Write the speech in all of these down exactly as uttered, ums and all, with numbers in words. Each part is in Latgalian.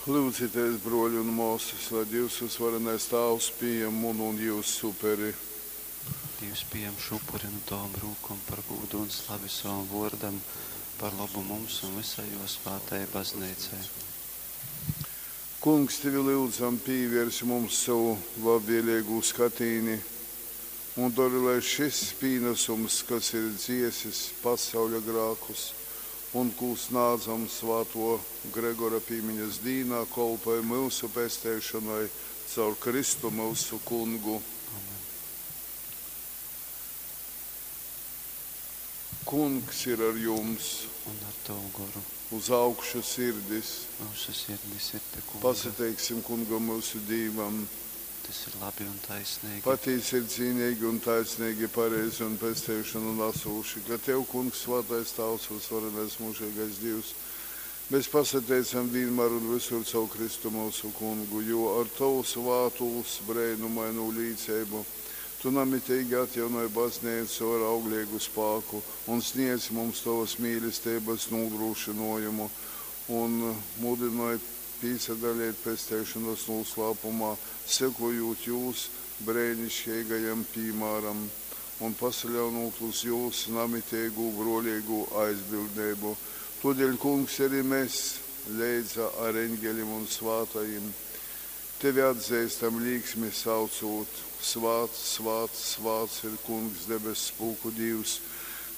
Lyudzitēs, brōli un mōsas, lai Dīvs vysuvarenais Tāvs pījam munu un jyusu uperi. Dīvs pījam šū upuri nu tovom rūkom par gūdu un slavi sovam vōrdam, par lobu mums un vysai jō svātajai Bazneicai. Kungs, tevi lyudzam, pīvērs mums sovu labvēleigū skatīni un dori, lai šys pīnasums, kas ir dziesis pasauļa grākus un kū snādzam svātō Gregora pīmiņas dīnā, kolpoj myusu pesteišonai caur Kristu myusu Kungu. Amen. Kungs ir ar jums. Un ar tavu goru. Uz augšu sirdis. Myusu sirdis ir pie Kunga. Pasateiksim Kungam myusu Dīvam. Tas ir labi un taisnīgi. Patīsi ir cīnīgi un taisnīgi, pareizi un pesteišonu nasūši, ka Tev, Kungs, svātais Tāvs, vysvarenais mūžīgais Dīvs, mēs pasateicam vienmēr un visur caur Kristu mūsu Kungu, jo ar Tavu svātūs breinumainū līceibu Tu namitīgi atjaunoj baznīcu ar auglīgu spāku un sniedz mums Tavas mīlestības nodrošinājumu un mudinoj pīsadalīt pesteišanas noslēpumā, sekojot jūs brēnišķīgajam piemēram un pasaļaunot uz jūs namitīgu brolīgu aizbildnību. Todēļ, Kungs, arī mēs leidza ar eņģelim un svātajiem tevi atzīstam līksmi saucot: Svāts, svāts, svāts ir Kungs, debess pulku Dīvs.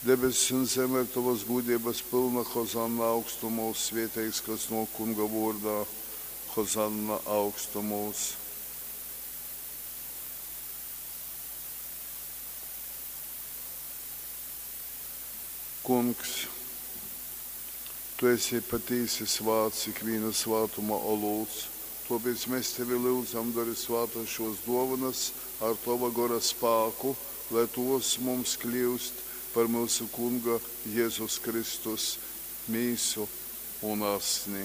Debesis un zeme ir tavas gudrības pilna, Hozanna augstumos, svētīgs, kas no Kunga vārdā, Hozanna augstumos. Kungs, tu esi patīsi svāts, ikviena svātuma olūts, tāpēc mēs tevi lūdzam, dari svātas šos dovanas ar tava gora spāku, lai tos mums kļūst par mūsu Kunga Jēzus Kristus mīsu un asni.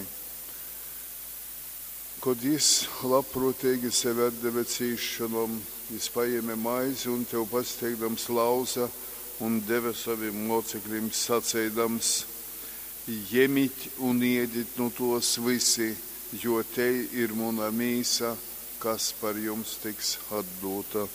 Kad jis labprātīgi sevi atdeva cīšanom, jis paēma maizi un tev pasteigdams lauza un deva saviem mocekļiem sacīdams: Jemit un iedit nu tos visi, jo te ir muna mīsa, kas par jums tiks atdota.